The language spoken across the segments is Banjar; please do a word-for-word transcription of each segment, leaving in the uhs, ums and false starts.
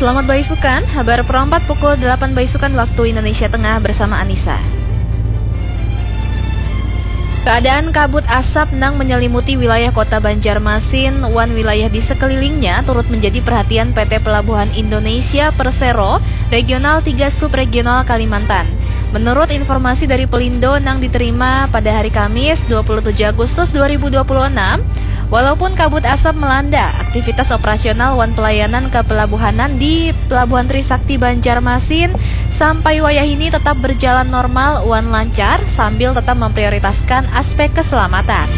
Selamat baisukan, habar perompat pukul delapan baisukan waktu Indonesia Tengah bersama Anissa. Keadaan kabut asap nang menyelimuti wilayah kota Banjarmasin wan wilayah di sekelilingnya turut menjadi perhatian P T Pelabuhan Indonesia Persero Regional tiga Subregional Kalimantan. Menurut informasi dari Pelindo nang diterima pada hari Kamis dua puluh tujuh Agustus dua ribu dua puluh enam, walaupun kabut asap melanda, aktivitas operasional wan pelayanan kepelabuhanan di Pelabuhan Trisakti Banjarmasin sampai wayah ini tetap berjalan normal wan lancar sambil tetap memprioritaskan aspek keselamatan.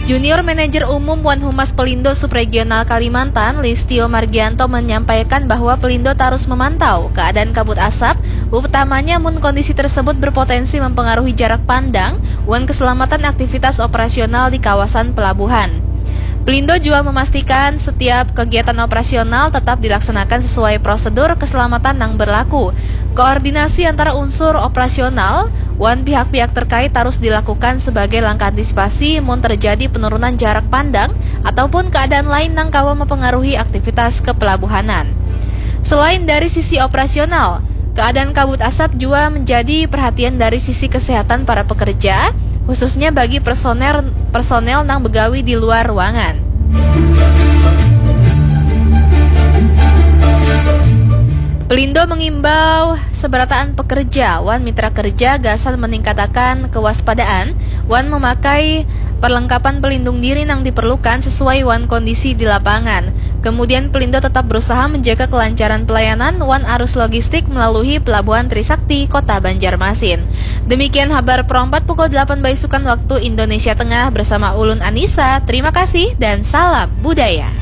Junior Manajer Umum wan Humas Pelindo Subregional Kalimantan, Listio Margianto, menyampaikan bahwa Pelindo tarus memantau keadaan kabut asap, utamanya mun kondisi tersebut berpotensi mempengaruhi jarak pandang wan keselamatan aktivitas operasional di kawasan pelabuhan. Pelindo juga memastikan setiap kegiatan operasional tetap dilaksanakan sesuai prosedur keselamatan yang berlaku. Koordinasi antara unsur operasional wan pihak-pihak terkait harus dilakukan sebagai langkah antisipasi mun terjadi penurunan jarak pandang ataupun keadaan lain nang kawa mempengaruhi aktivitas kepelabuhanan. Selain dari sisi operasional, keadaan kabut asap juga menjadi perhatian dari sisi kesehatan para pekerja, khususnya bagi personel personel nang begawi di luar ruangan. Pelindo mengimbau seberataan pekerja wan mitra kerja gasan meningkatakan kewaspadaan wan memakai perlengkapan pelindung diri nang diperlukan sesuai wan kondisi di lapangan. Kemudian Pelindo tetap berusaha menjaga kelancaran pelayanan wan arus logistik melalui Pelabuhan Trisakti Kota Banjarmasin. Demikian habar perompat pukul delapan baisukan waktu Indonesia Tengah bersama ulun Anissa. Terima kasih dan salam budaya.